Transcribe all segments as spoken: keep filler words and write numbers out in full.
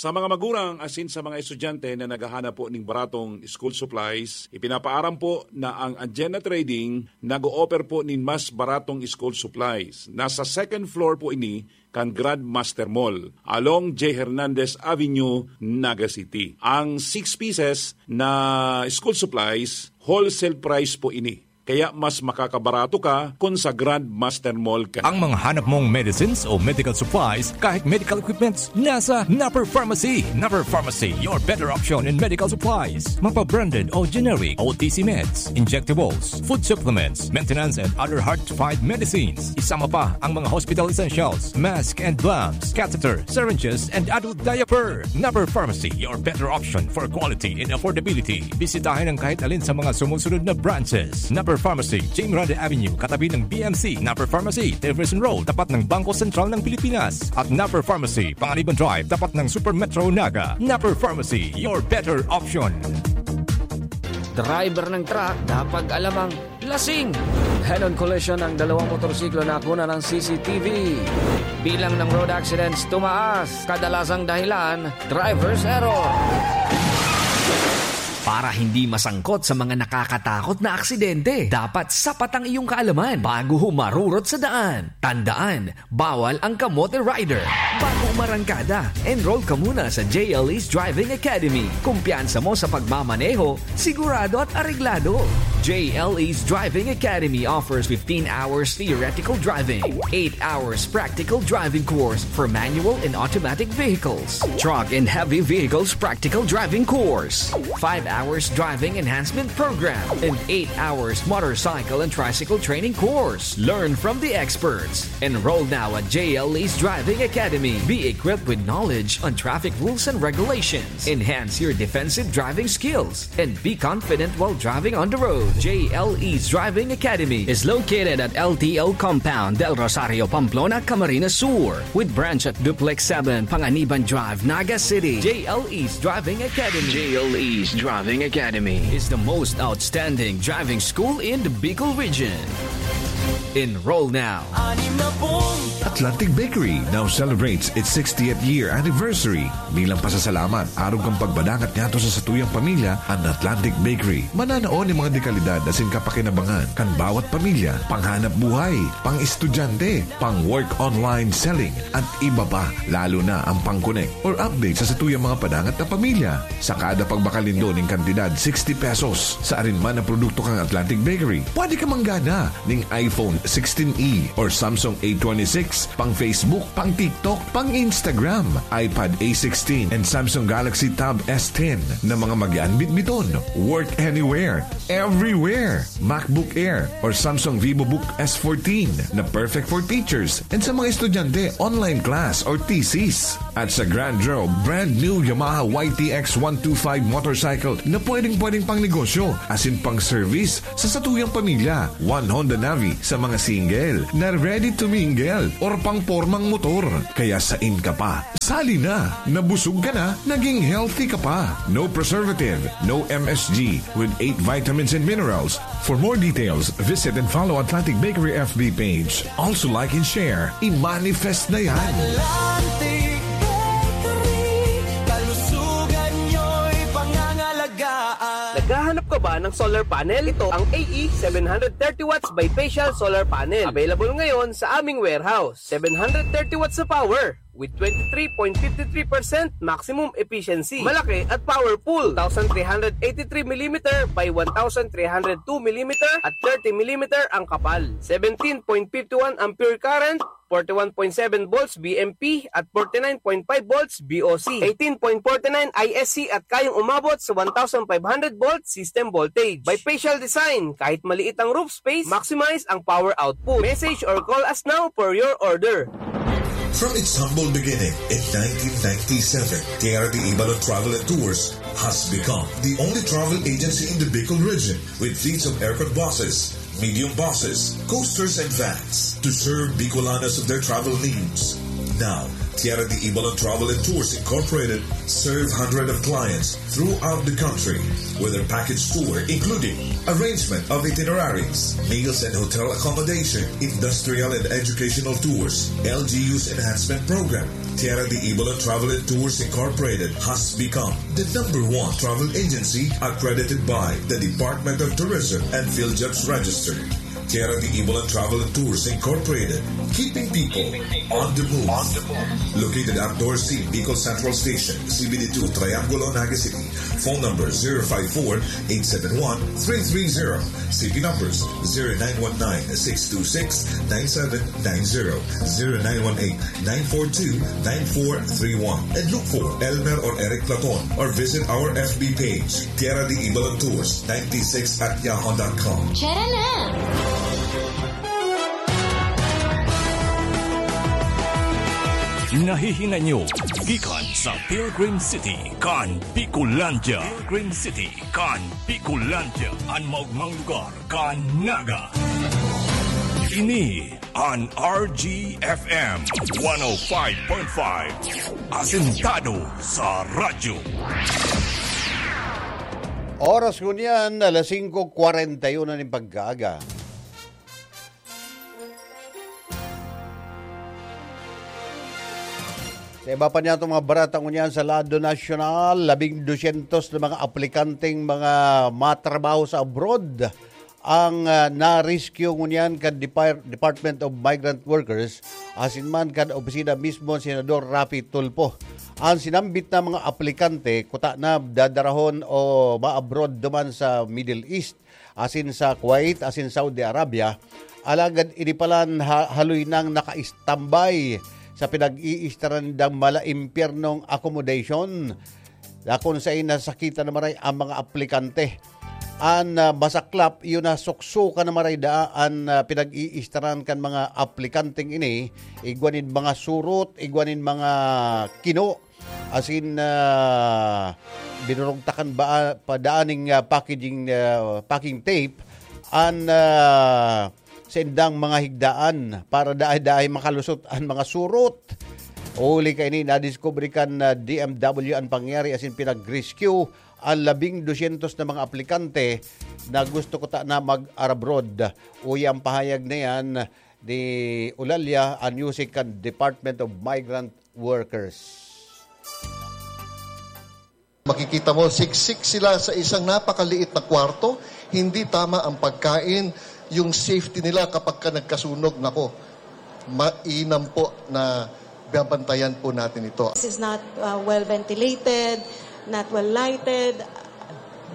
Sa mga magurang asin sa mga estudyante na naghahanap po ning baratong school supplies, ipinapaaram po na ang Agenda Trading nag-o-offer po nin mas baratong school supplies. Nasa second floor po ini kan Grandmaster Mall, along J Hernandez Avenue, Naga City. Ang six pieces na school supplies, wholesale price po ini. Kaya mas makakabarato ka kun sa Grandmaster Mall ka. Ang mga hanap mong medicines o medical supplies, kahit medical equipments, nasa Napper Pharmacy. Napper Pharmacy, your better option in medical supplies. Mapa-branded o generic, O T C meds, injectables, food supplements, maintenance and other hard-to-find medicines. Isama pa ang mga hospital essentials, mask and gloves, catheter, syringes, and adult diaper. Napper Pharmacy, your better option for quality and affordability. Bisitahin ang kahit alin sa mga sumusunod na branches. Napper Pharmacy, Jim Grande Avenue, katabi ng B M C. Napper Pharmacy, Jefferson Road, tapat ng Bangko Sentral ng Pilipinas. At Napper Pharmacy, Panganiban Drive, tapat ng Super Metro Naga. Napper Pharmacy, your better option. Driver ng truck, dapat alamang lasing. Head-on collision ng dalawang motorsiklo na nakuna ng C C T V. Bilang ng road accidents tumaas. Kadalasang dahilan, driver's error. Para hindi masangkot sa mga nakakatakot na aksidente, dapat sapat ang iyong kaalaman bago humarurot sa daan. Tandaan, bawal ang kamote rider. Bago umarangkada, enroll ka muna sa J L E's Driving Academy. Kumpiyansa mo sa pagmamaneho, sigurado at areglado. J L E's Driving Academy offers fifteen hours theoretical driving, eight hours practical driving course for manual and automatic vehicles, truck and heavy vehicles practical driving course, five hours driving enhancement program, and eight hours motorcycle and tricycle training course. Learn from the experts. Enroll now at J L E's Driving Academy. Be equipped with knowledge on traffic rules and regulations. Enhance your defensive driving skills and be confident while driving on the road. J L E's Driving Academy is located at L T O Compound, Del Rosario, Pamplona, Camarines Sur, with branch at Duplex seven, Panganiban Drive, Naga City. J L E's Driving Academy. J L E's Driving Academy is the most outstanding driving school in the Bicol region. Enroll now. Atlantic Bakery now celebrates its sixtieth year anniversary. Bilang pasasalamat, arog kan pagpadangat niyato sa satuyang pamilya, an Atlantic Bakery mananao nin mga dekalidad asin kapakinabangan kan bawat pamilya, panghanap buhay, pang-estudyante, pang-work online selling, at iba pa, lalo na ang pang-connect or update sa satuyang mga padangat na pamilya. Sa kada pagbakal nindo nin kantidad sixty pesos sa arin man na produkto kan Atlantic Bakery, pwede ka manggana nin iPhone sixteen E or Samsung A twenty-six, pang Facebook, pang TikTok, pang Instagram, iPad A sixteen, and Samsung Galaxy Tab S ten na mga mag-aanbitbiton. Work anywhere, everywhere. MacBook Air or Samsung VivoBook S fourteen na perfect for teachers and sa mga estudyante, online class or thesis. At sa Grand Draw, brand new Yamaha Y T X one two five motorcycle na pwedeng-pwedeng pang negosyo, asin pang service sa satuyang pamilya. One Honda Navi sa mga single na ready to mingle or pang pormang motor. Kaya sain ka pa? Sali na! Nabusog ka na, naging healthy ka pa. No preservative, no M S G, with eight vitamins and minerals. For more details, visit and follow Atlantic Bakery F B page. Also like and share. I-manifest na yan! Atlantic Bakery, kalusugan nyo'y pangangalagaan. Naghahanap ka ba ng solar panel? Ito ang A E seven hundred thirty watts bifacial solar panel. Available ngayon sa aming warehouse. Seven hundred thirty watts na power with twenty-three point five three percent maximum efficiency. Malaki at powerful. Two thousand three hundred eighty-three millimeter by one thousand three hundred two millimeter at thirty millimeter ang kapal. Seventeen point five one ampere current, forty-one point seven volts V M P at forty-nine point five volts V O C, eighteen point forty-nine I S C at kayang umabot sa one thousand five hundred volt system voltage. Bifacial design, kahit maliit ang roof space, maximize ang power output. Message or call us now for your order. From its humble beginning in nineteen ninety-seven, K R D Ibalon Travel and Tours has become the only travel agency in the Bicol region with fleets of aircon buses, medium buses, coasters, and vans to serve Bicolanos of their travel needs. Now, Tierra de Ibalan Travel and Tours Incorporated serve hundreds of clients throughout the country with their package tour, including arrangement of itineraries, meals and hotel accommodation, industrial and educational tours, L G U's enhancement program. Tierra de Ibalan Travel and Tours Incorporated has become the number one travel agency accredited by the Department of Tourism and PhilJobs Register. Tierra de Ibalan Travel and Tours Incorporated, keeping people on the move. Located at Dorothy Bicol Central Station, C B D two, Triangulo, Naga City. Phone number zero five four, eight seven one, three three zero. C P numbers zero nine one nine, six two six, nine seven nine zero, zero nine one eight, nine four two, nine four three one. And look for Elmer or Eric Platon or visit our F B page, Tierra de Ibalan Tours ninety-six at yahoo dot com. Tara na! Nahihinay nyo gikan sa Pilgrim City kan Bicolandia. Pilgrim City kan Bicolandia, an maogmang lugar kan Naga. Ini an R G F M one oh five point five, asentado sa radyo. Oras ngunyan, alas singko kwarenta y uno nin pagkaaga. Sa iba pa niyatong mga barata ngunyan sa lado nasyonal, labing dosyentos na mga aplikanteng mga matrabaho sa abroad ang, ah, na-rescue ngunyan kan Depar-, Department of Migrant Workers, asin man kan opisina mismo ni Senador Raffy Tulfo. Ang sinambit na mga aplikante, kuta na dadarahon o ma-abroad duman sa Middle East, asin sa Kuwait, asin Saudi Arabia, alagad ini palan ha-, haloy nang naka-istambay sa pinag-iistaran nindang mala impyernong accommodation, dakon sa nasakitan na maray ang mga aplikante. An, ah, masaklap, iyo na suksukan na maray daa an, ah, pinag-iistaran kan mga aplikanteng ini, igwa nin mga surot, igwa nin mga kino, asin, ah, binurugtakan ba, pa daan ning, ah, packaging, ah, packing tape an, ah, saindang mga higdaan para daay-daay makalusot an mga surot. Huli kaini, nadiskubre kan, ah, D M W an pangyayari asin pinag-rescue an labing dosyentos na mga aplikante na gusto kuta na mag-abroad. Uya ang pahayag na yan ni Eulalia Anyusic kan Department of Migrant Workers. Makikita mo, siksik sila sa isang napakaliit na kwarto, hindi tama ang pagkain, yung safety nila kapag ka nagkasunog, nako, mainam po na babantayan po natin ito. This is not uh, well ventilated, not well lighted.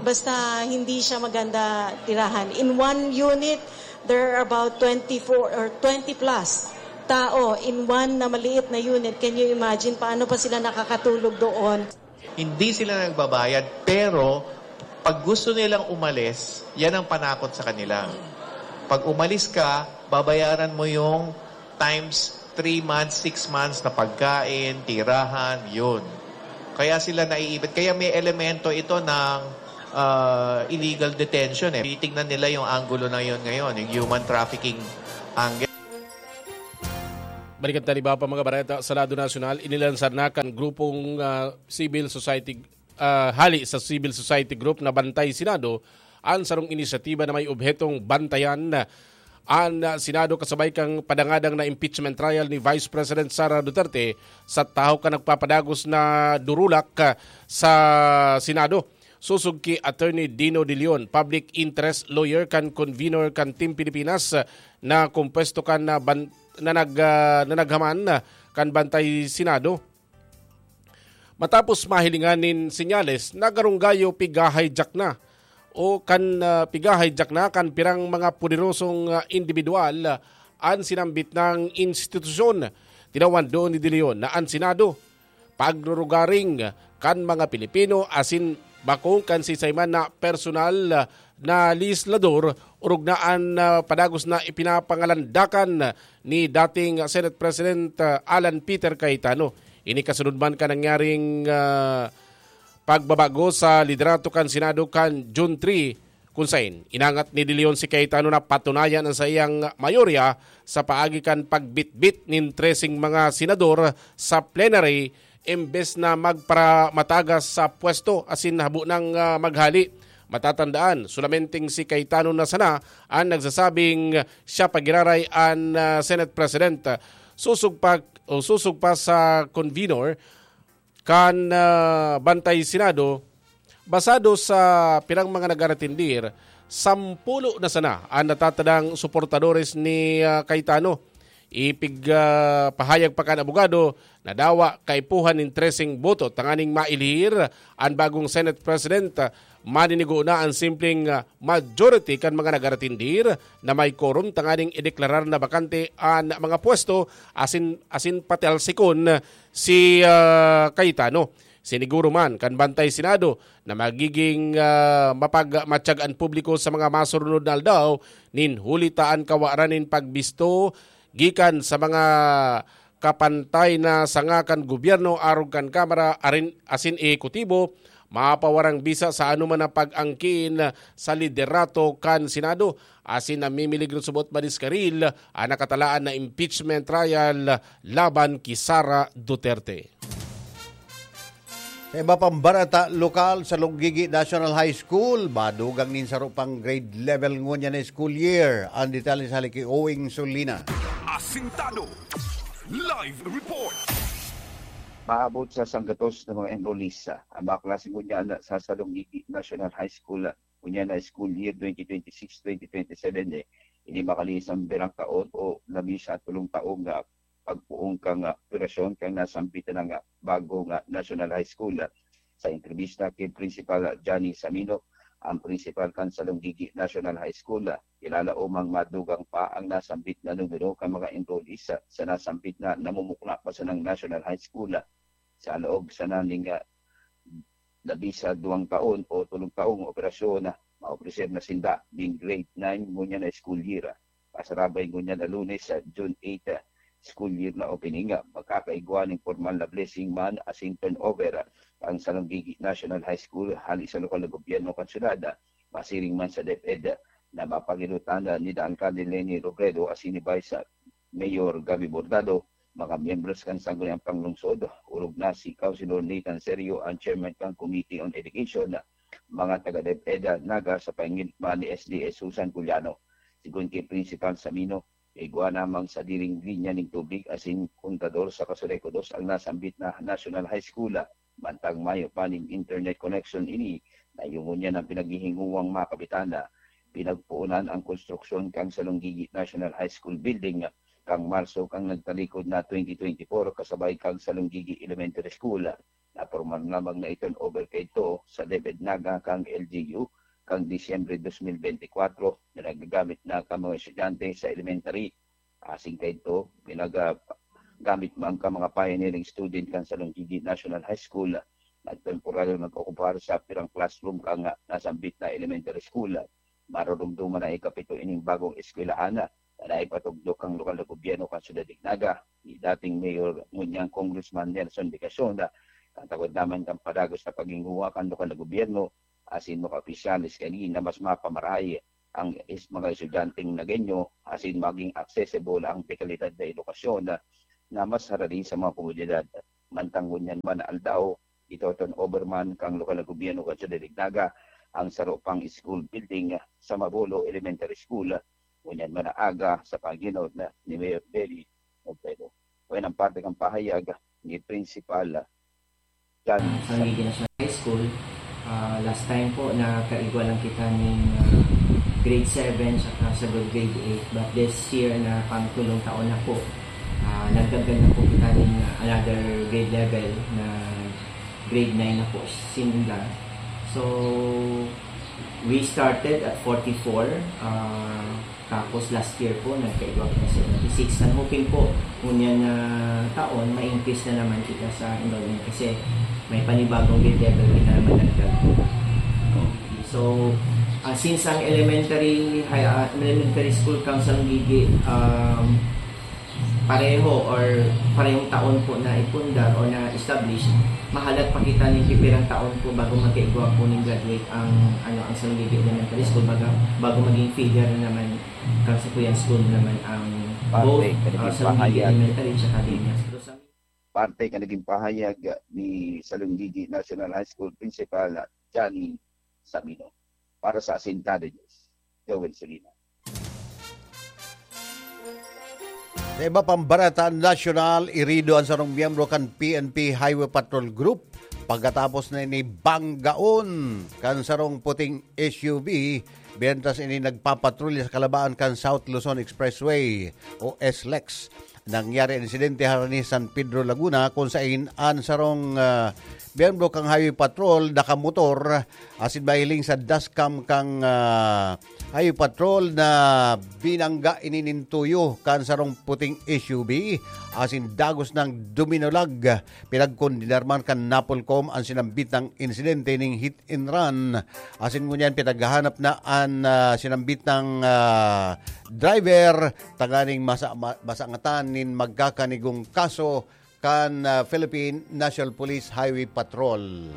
Basta hindi siya maganda tirahan. In one unit, there are about twenty-four or twenty plus tao in one na maliit na unit. Can you imagine paano pa sila nakakatulog doon? Hindi sila nagbabayad, pero pag gusto nilang umalis, yan ang panakot sa kanila. Pag umalis ka, babayaran mo yung times three months, six months na pagkain, tirahan, yun. Kaya sila naiipit. Kaya may elemento ito ng ah, illegal detention eh. Titignan nila yung anggulo na yun ngayon, yung human trafficking angle. Balikan ta iba pa mga bareta sa lado nasyonal, inilansar na kan grupong ah, civil society, ah, hali sa civil society group na Bantay Senado an sarong inisyatiba na may obhetong bantayan an ah, Senado kasabay kan padangadang na impeachment trial ni Vice President Sara Duterte sa tahaw kan nagpapadagos na durulak ah, sa Senado. Sosog ki Attorney Dino De Leon, public interest lawyer kan convenor kan Team Pilipinas, na kompuesto kan na, ban, na, nag, ah, na naghaman kan Bantay Senado. Matapos mahilingan nin senyales na garunggayo piga-hijack na o kan ah, piga-hijack na kan pirang mga poderosong ah, indibidwal ah, an sinambit nang institusyon. Tinawan doon ni De Leon na an Senado pagrurugaring kan mga Pilipino asin bako kan siisay man na personal na lehislador orog na an ah, padagos na ipinapangalandakan ni dating Senate President ah, Alan Peter Cayetano. Ini kasunod man kan nangyaring ah, pagbabago sa liderato kan Senado kan June three, Kun saen, inangat ni De Leon si Cayetano na patunayan an saiyang mayorya sa paagi kan pagbitbit nin treseng mga senador sa plenary, imbes na magparamatagas sa pwesto asin habo nang, ah, maghali. Matatandaan, solamenteng si Cayetano na sana an nagsasabing siya pa giraray an, ah, Senate President. Susog pa, o susog pa sa convenor kan, ah, Bantay Senado, basado sa pirang mga nag-aratindir, sampulo na sana an natatadang suportadores ni, ah, Cayetano. Ipig, ah, pahayag pa kan abogado na dawa kaipuhan nin treseng boto tanganing mailhir an bagong Senate President. Maninigo na an simpleng, ah, majority kan mga nag-aratindir na may quorum tanganing ideklarar na bakante an mga pwesto asin, asin patalsikon si, ah, Cayetano. Siniguro man kan Bantay Senado na magiging, ah, mapagmatyag an publiko sa mga masurunod na aldaw nin huli ta an kawaran nin pagbisto gikan sa mga kapantay na sanga kan gobyerno arog kan Kamara arin, asin ehekutibo, mapawarang bisa sa anoman na pag-angkin sa liderato kan Senado, asin namimiligro subot madiskaril an nakatalaan na impeachment trial laban ki Sara Duterte. Sa iba pang bareta lokal, sa Lunggigi National High School, madugang nin saro pang grade level ngunyan na school year. Ang detalye sa hali ki Owing Solina. Asintado. Live report. Maabot sa sanggatos na mga enrollees, ah, ang mga klase ngunyan sa Salonggigi National High School, ah, ngunyan na school year twenty twenty-six twenty twenty-seven, eh, ini makalihis ang birang taon o labi sa tulong taong, ah, pagpoon kan, ah, operasyon kan nasambit na nga bago nga National High School. Sa entrebista ki Principal Johnny Samino, ang principal kan Salonggigi National High School, ah, ilalaom ang madugang pa ang nasambit na numero kan mga enrollees sa, sa nasambit na namumukla pa sanang National High School, ah, sa laog sana ning, ah, labi sa duwang taon o tolong taong operasyon, ah, maopreser na sinda ning grade nine ngunyan na school year, ah, pasarabay ngunyan na Lunes, sa June eight, ah, school year na opening, ah, magkakaigwa ning formal na blessing man asin turnover, ah, ang Salonggigi National High School hali sa lokal na gobyerno kan syudad, ah, masiring man sa DepEd, ah, na mapaginutan, ah, ni Alcalde Leni Robredo asin ni Vice, ah, Mayor Gabby Bordado, mga miyembros kan Sangguniang Panglungsod, orog na si Councilor Nathan Serio, ang chairman kan Committee on Education, mga taga DepEd Naga sa paingilit man ni S D S Susan Culiano. Sigon ki Principal Samino, igwa namang sadiring linya nin tubig asin kontador sa kasureko dos ang nasambit na National High School. Mantang mayo pa nin internet connection ini, na iyo ngunyan ang pinaghihingowang mga kapitan na pinagpoonan ang konstruksyon kan Salonggigi National High School Building kan Marso kan nagtalikod na twenty twenty-four, kasabay kan Salonggigi Elementary School. Napormal lamang na i-turnover kaidto sa DepEd Naga kan L G U kan Disyembre dos mil bente kwatro, na nagagamit na kan mga estudyante sa elementary. Asin kaidto, pinaga-, gamit man kan mga pioneering student kan Salonggigi National High School, nagtemporaryong nag-okupar sa pirang classroom kan nasambit na elementary school. Marurumduman na ikapito ining bagong eskwelahan na naipatugdok kan lokal na gobyerno kan Syudad nin Naga, ni dating Mayor ngunyan Congressman Nelson Legacion, na katagod naman kan padagos na paghinguha kan lokal na gobyerno asin mga opisyales kaini na mas mapamarahay ang is-, mga estudyanteng Nagueño asin maging accessible ang dekalidad na edukasyon na, na mas harani sa mga komunidad. Mantang ngunyan man na aldaw, ito-turnover man kan lokal na gobyerno kan Syudad nin Naga ang saro pang school building sa Mabolo Elementary School, ngunyan man na aga sa paghinot na ni Mayor Benny Robredo. Kaya ang parte kan pahayag ni Principal John Sa Miguel National High School, ah, last time po, nakaigwa lang kita ning, ah, grade seven saka sa grade eight. But this year, na pang tulong taon na po, ah, nagdagdag na po kita ning another grade level na grade nine na po sinda. So, we started at forty-four, ah, tapos last year po, nagkaigwa kita seventy-six. I'm hoping po, ngunyan na taon, ma-increase na naman kita sa enrollment kasi may panibagong grade level kita na madagdag. So, ah, since ang elementary, high, ah, elementary school kan Salonggigi, um, pareho or parehong taon po na ipundar o na-establish, mahalat pa kita nin pipirang taon po bago magkaigwa po nin graduate ang, ano, ang Salonggigi Elementary School, baga, bago maging feeder na naman kang Sipuyang School naman ang Parte both, ka naging ah, Salonggigi pahayag. Elementary tsaka Daniels. Pero sa Parte ka naging pahayag ni Salonggigi National High School Principal Johnny Sabino. Para sa Asintado News, Joel Solina. Sa iba pang barata nasyonal, irido an sarong miyembro kan P N P Highway Patrol Group pagkatapos na ini banggaon kan sarong puting S U V mientras ini nagpapatrolya sa kalabaan kan South Luzon Expressway o S lex. Nangyari an insidente harani San Pedro, Laguna, kung sain an sarong, ah, miyembro kan Highway Patrol nakamotor asin mahiling sa dashcam kan, ah, Highway Patrol na binangga ini nin tuyo kan sarong puting S U V asin dagos nang duminulag. Pinagkondenar man kan Napolcom an sinambitang insidente ning hit and run asin ngunyan pinaghahanap na an, ah, sinambitang, ah, driver tanganing masa-, ma-, masangatan nin magkakanigong kaso kan, ah, Philippine National Police Highway Patrol.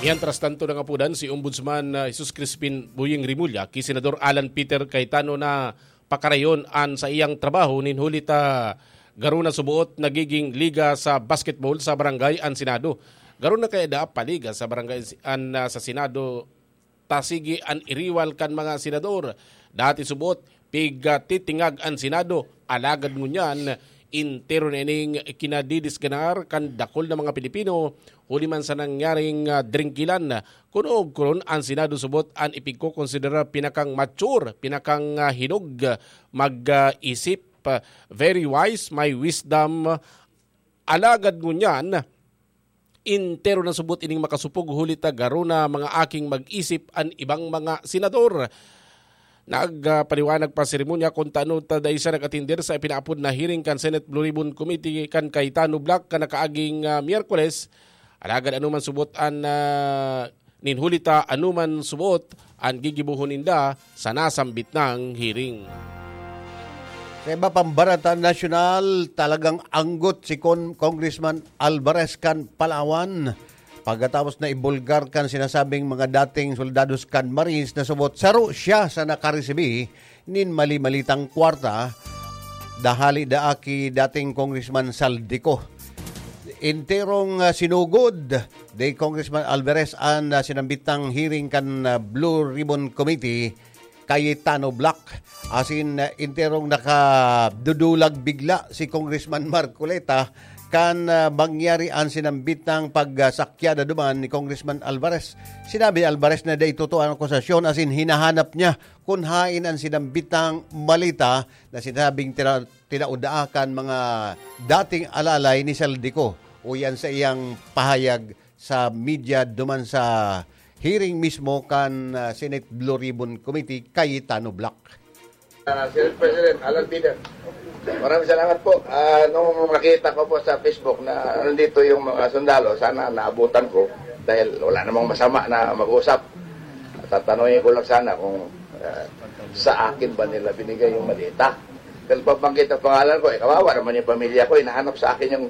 Mientras tanto, nangapodan si Ombudsman, ah, Jesus Crispin Boying Remulla ki Senador Alan Peter Cayetano na pakarayon an saiyang trabaho nin huli ta garo na suboot nagiging liga sa basketball sa barangay an Senado. Garo na kaya daa paliga sa barangay an, ah, sa Senado ta sige an iriwal kan mga senador. Dati subot, pigtitingag an Senado, alagad ngunyan, entero na ining kinadidisganar kan dakul na mga Pilipino, huli man sa nangyaring, ah, dringkilan. Kun oogkuron an Senado subot an ipigkokonsidera pinakang mature, pinakang, ah, hinog, mag, ah, isip, ah, very wise, may wisdom. Alagad ngunyan, entero na subot ining makasupog huli ta garo na mga aking mag-isip an ibang mga senador. Nagpaliwanag pa seremonya kun tano ta dai siya nag-atender sa ipinaapod na hearing kan Senate Blue Ribbon Committee kan Cayetano Black kan nakaaging, ah, Miyerkules. Alagad ano man subot an, ah, nin huli ta ano man subot an gigibohon ninda sa nasambit nang hearing. Sa iba pang barata nasyonal, talagang anggot si Con-, Congressman Alvarez kan Palawan pagkatapos na ibulgar kan sinasabing mga dating soldados kan Marines na subot saro siya sa nakaresibi nin mali-malitang kwarta, dahali daa ki dating Congressman Saldico. Enterong, ah, sinugod ni Congressman Alvarez an, ah, sinambitang hearing kan, ah, Blue Ribbon Committee, Cayetano Black. Asin, ah, enterong nakadudulag bigla si Congressman Marcoleta kan, ah, mangyari an sinambitang pagsakyada duman ni Congressman Alvarez. Sinabi ni Alvarez na dai totoo an akusasyon asin hinahanap niya kun haen an sinambitang maleta na sinabing tira-, tinaod daa kan mga dating alalay ni Saldico. Uyan sa iyang pahayag sa media duman sa hearing mismo kan, ah, Senate Blue Ribbon Committee, Cayetano Black. Ah, Senate President Alan Peter, maraming salamat po. Ah, nung nakita ko po sa Facebook na nandito yung mga sundalo, sana naabutan ko dahil wala namang masama na mag-usap. Tatanungin ko lang sana kung, ah, sa akin ba nila binigay yung maleta. Dahil pabanggit ang pangalan ko, eh, kawawa naman yung pamilya ko, hinahanap sa akin yung,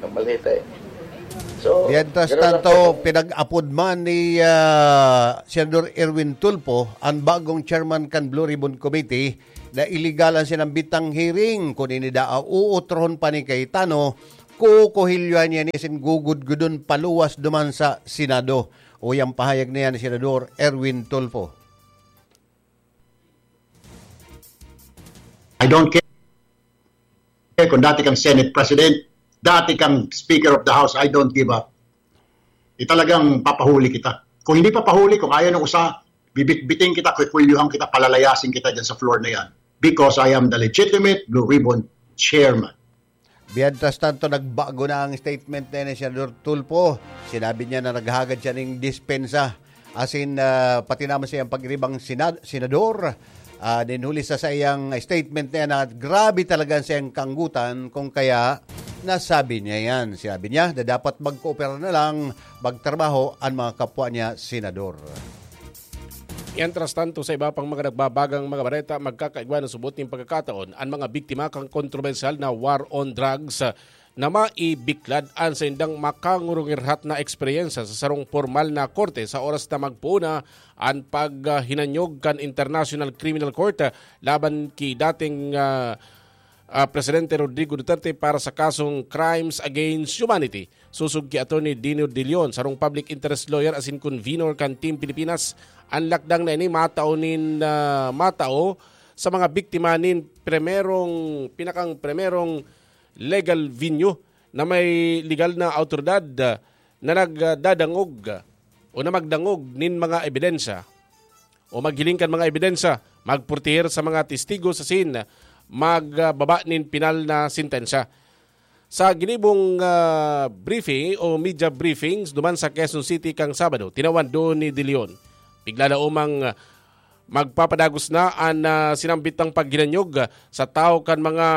yung maleta eh. So, Mientras ganun lang tanto, po. Pinag-apod man ni, ah, Senador Erwin Tulfo, ang bagong chairman kan Blue Ribbon Committee, na iligal ang sinambitang hearing. Kun ini daa uutrohon pa ni Cayetano, kukuhilyohan niya ni asin gugudgudon paluwas duman sa Senado. Uyang pahayag na yan ni Senador Erwin Tulfo. I don't care kung dati kang Senate President, dati kang Speaker of the House, I don't give up. Di talagang papahuli kita. Kung hindi papahuli, kung ayaw ng usa, bibitbitin kita, kukulyuhan kita, palalayasin kita dyan sa floor na yan. Because I am the legitimate Blue Ribbon Chairman. Mientras tanto, nagbago na ang statement na ni Senador Tulfo. Sinabi niya na naghagad siya ning dispensa. Asin, ah, pati naman siyang pag-iribang sinad-, senador. Ah, ninhuli sa saiyang statement na yan na grabe talaga ang saiyang kanggutan kung kaya nasabi niya yan. Sinabi niya na dapat magkoopera na lang magtrabaho ang mga kapwa niya senador. Mientras tanto, sa iba pang mga nagbabagang mga bareta, magkakaigwa na subot nin pagkakataon an mga biktima kan kontrobersyal na war on drugs na maibiklad an saindang makangurungirhat na eksperyensya sa sarong pormal na korte sa oras na magpoon na an paghinanyog kan International Criminal Court laban ki dating, ah, ah, Presidente Rodrigo Duterte para sa kasong crimes against humanity. Sosog ki Attorney Dino De Leon, sarong public interest lawyer asin convenor kan Team Pilipinas, an lakdang na ini matao nin, ah, matao sa mga biktima nin primerong, pinakang primerong legal venue na may legal na awtoridad, ah, na nagdadangog, ah, o na magdangog nin mga ebidensya o maghiling kan mga ebidensya, magporteher sa mga testigo sa scene, magbaba nin pinal na sentensya. Sa ginibong, ah, briefing o media briefings duman sa Quezon City kan Sabado, tinawan doon ni De Leon. Bigla na umang, ah, magpapadagos na an, ah, sinambit na paghinanyog, ah, sa tawo kan mga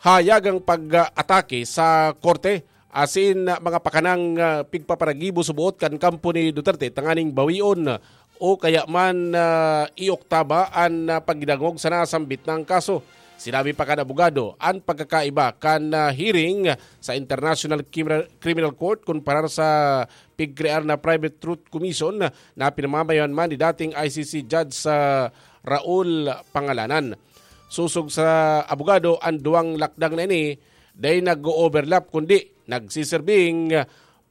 hayagang pag-atake sa korte asin mga pakanang, ah, pigpaparagibo suboot kan kampo ni Duterte tanganing bawion o kaya man, ah, ioktaba an, ah, pagdangog sa nasambit na kaso. Sinabi pa kan abogado, an pagkakaiba kan, ah, hearing sa International Criminal, Criminal Court kumparar sa pigkrear na Private Truth Commission na pinamamayoan man ni dating I C C Judge sa Raul Pangalanan. Sosog sa abogado, an duwang lakdang na ini dai nag-o-overlap kundi nagsiserbing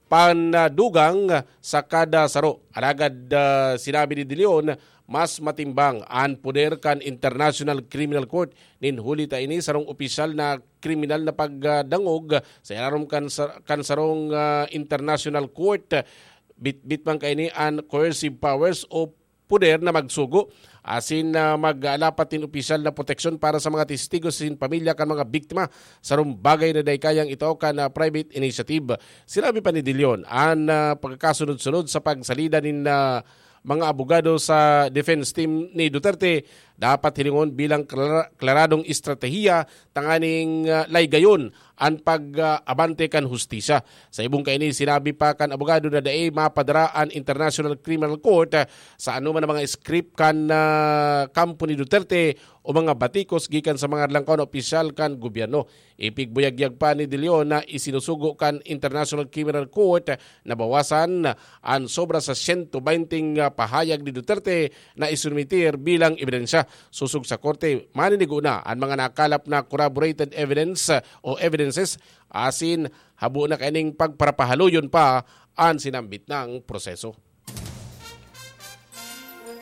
pandugang sa kada saro. Alagad, ah, sinabi ni De Leon, mas matimbang an poder kan International Criminal Court. Nin huli ta ini sarong opisyal na kriminal na pagdangog sa ilarom kan sa-, kan sarong, ah, International Court. Bitbit man kaini an coercive powers o poder na magsugo asin, ah, mag-alapat nin opisyal na proteksyon para sa mga testigo asin pamilya kan mga biktima, sarong bagay na dai kayang itao kan, ah, private initiative. Sinabi pa ni De Leon, an, ah, pagkakasunod-sunod sa pagsalida nin, ah, mga abogado sa defense team ni Duterte dapat hilingon bilang klara-, klaradong estratehiya tanganing, ah, laygayon an pag-abante kan hustisya. Sa ibong kaini, sinabi pa kan abogado na dai mapadara an International Criminal Court, ah, sa anoman na mga script kan, ah, kampo ni Duterte o mga batikos gikan sa mga langkaw na opisyal kan gobyerno. Ipigbuyagyag pa ni De Leon na isinusugo kan International Criminal Court na bawasan an sobra sa siyento benteng pahayag ni Duterte na isumiter bilang ebidensya. Sosog sa korte, maninigo na an mga nakalap na corroborated evidence o evidences asin habo na kaining pagparapahaloyon pa an sinambit na proseso.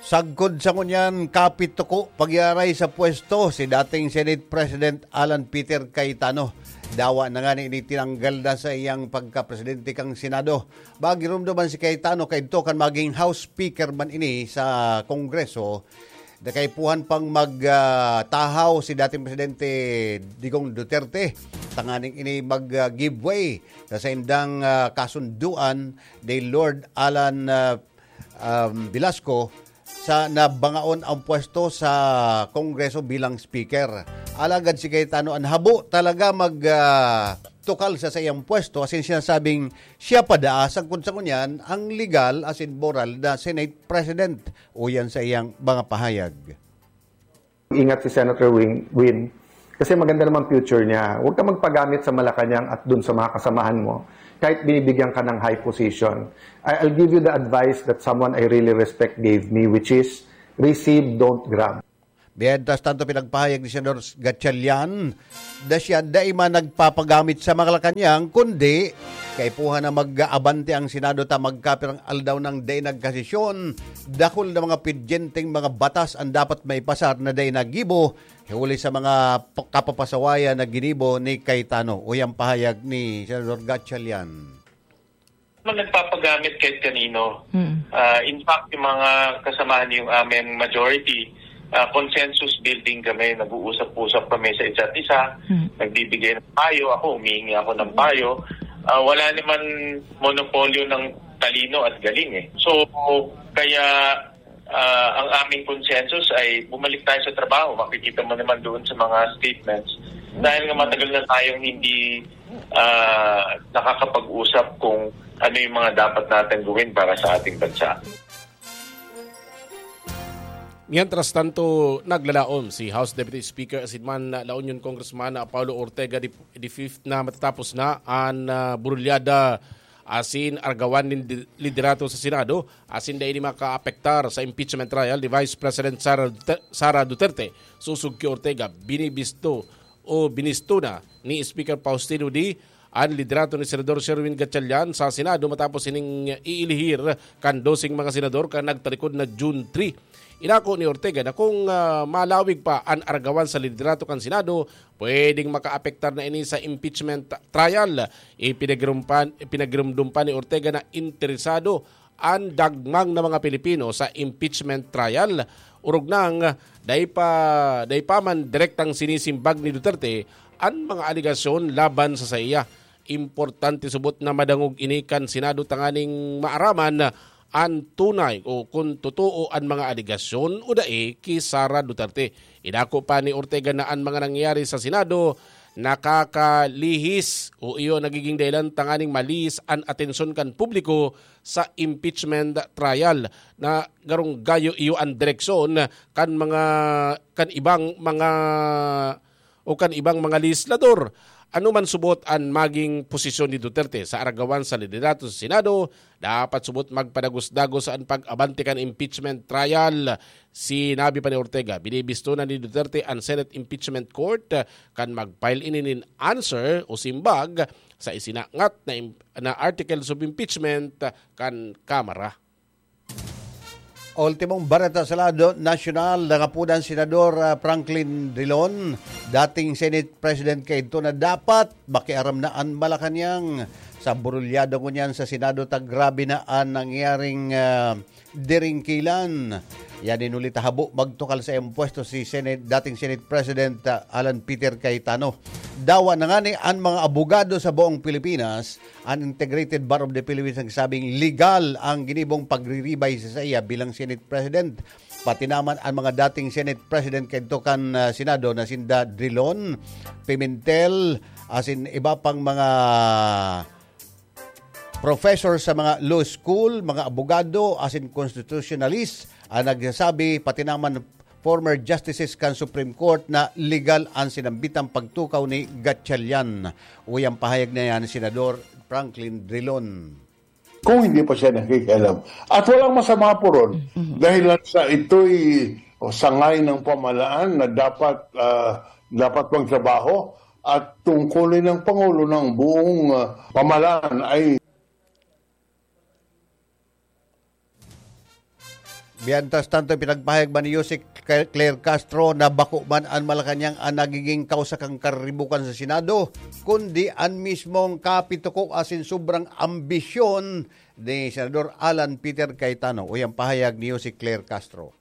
Sagkod sa ngunyan, kapituko pag-iaray sa pwesto si dating Senate President Alan Peter Cayetano. Dawa na nga ni tinanggal na sa iyang pagkapresidente kan Senado. Magirumdo man si Cayetano kaidto kan maging House Speaker man ini sa Kongreso, da kaipuhan pang mag, ah, tahaw si dating Presidente Digong Duterte tanganing ini mag, ah, give way sa saindang, ah, kasunduan ni Lord Alan, ah, um, Velasco sa nabangaon ang pwesto sa Kongreso bilang Speaker. Alagad si Cayetano an habo talaga mag, ah, tukal sa saiyang pwesto asin sinasabing siya pa daa sagkod sa ngunyan ang legal asin moral na Senate President, uyan sa iyang mga pahayag. Ingat si Senator Win, Win. Kasi maganda naman future niya. Huwag ka magpagamit sa Malacanang at dun sa mga kasamahan mo. Kahit binibigyan ka ng high position. I, I'll give you the advice that someone I really respect gave me, which is receive, don't grab. Mientras tanto, pinagpahayag ni Senador Gatchalian na siya dai man nagpapagamit sa Malacanang, kundi kaipuhan na mag-aabante ang Senado ta magkapirang aldaw nang dai nagkasesyon. Dakul na mga pidyenteng mga batas ang dapat maipasar na dai nagibo, huli sa mga p-, kapapasawayan na ginibo ni Cayetano. Uyang pahayag ni Senador Gatchalian. Naman nagpapagamit kahit kanino. Mm. Ah, in fact, yung mga kasamahan yung aming majority, ah, consensus building kami, nag-uusap-usap kami sa isa't isa, Mm. nagbibigay ng payo, ako, humihingi ako ng payo. Ah, wala naman monopolyo ng talino at galing eh. So, kaya ah, ang aming consensus ay bumalik tayo sa trabaho. Makikita mo naman doon sa mga statements. Dahil nga matagal na tayong hindi ah, nakakapag-usap kung ano yung mga dapat natin gawin para sa ating bansa. Mientras tanto, naglalaom si House Deputy Speaker asin man La Union Congressman Paulo Ortega the, the fifth na matatapos na an ah, burulyada asin argawan nin di- liderato sa Senado asin dai ini makaapektar sa impeachment trial ni Vice President Sara Duterte, Sara Duterte. Sosog ki Ortega, binibisto o binisto na ni Speaker Faustino Dy an liderato ni Senador Sherwin Gatchalian sa Senado matapos ining iilihir kan doseng mga senador kan nagtalikod na June three. Inako ni Ortega na kung ah, malawig pa an argawan sa liderato kan Senado, pwedeng makaapektar na ini sa impeachment trial. Ipinagirumpan, ipinagirumdum pa ni Ortega na interesado an dagmang na mga Pilipino sa impeachment trial. Orog nang dai pa, dai pa man direktang sinisimbag ni Duterte an mga alegasyon laban sa saiya. Importante subot na madangog ini kan Senado tanganing maaraman an tunay o kun totoo an mga alegasyon o dai ki Sara Duterte. Inako pa ni Ortega na an mga nangyari sa Senado nakakalihis o iyo nagiging dahilan tanganing malihis an atensyon kan publiko sa impeachment trial na garong gayo iyo an direksyon kan mga kan ibang mga o kan ibang mga legislador. Ano man subot an maging posisyon ni Duterte sa aragawan sa liderato sa Senado, dapat subot magpadagos-dagos an pag-abante kan impeachment trial. Sinabi pa ni Ortega, binibisto na ni Duterte an Senate Impeachment Court kan mag-file ini nin answer o simbag sa isinangat na, im- na articles of impeachment kan Kamara. Ultimong bareta sa lado nasyonal, nangapodan Senador ah, Franklin Drilon, dating Senate President kaidto, na dapat makiaram na an Malacañang sa burulyado ngunyan sa Senado ta grabe na an nangyaring ah, diringkilan. Yan in huli ta habo magtukal sa iyang pwesto si Senate, dating Senate President ah, Alan Peter Cayetano. Dawa na ngani an mga abogado sa buong Pilipinas, an Integrated Bar of the Philippines nagsabing legal ang ginibong pagriribay sa saiya bilang Senate President. Pati naman ang mga dating Senate President kadto kan ah, Senado na sinda Drilon, Pimentel, asin iba pang mga professor sa mga law school, mga abogado, asin constitutionalist ang nagsasabi, pati naman former justices kan Supreme Court, na legal ang sinambitang pagtukaw ni Gatchalian. Uy, ang pahayag na yan, Senador Franklin Drilon. Kung hindi pa siya nakikialam. At walang masama po ron. Dahil lang sa ito'y o, sangay ng pamahalaan na dapat ah, dapat magtrabaho at tungkulin ng Pangulo ng buong ah, pamahalaan ay Mientras tanto, pinagpahayag man ni Yusek Claire Castro na bako man an Malacañang ang nagiging kausa kan karibukan sa Senado, kundi an mismong kapituko asin sobrang ambisyon ni Senador Alan Peter Cayetano. Uy, ang pahayag ni Yusek Claire Castro.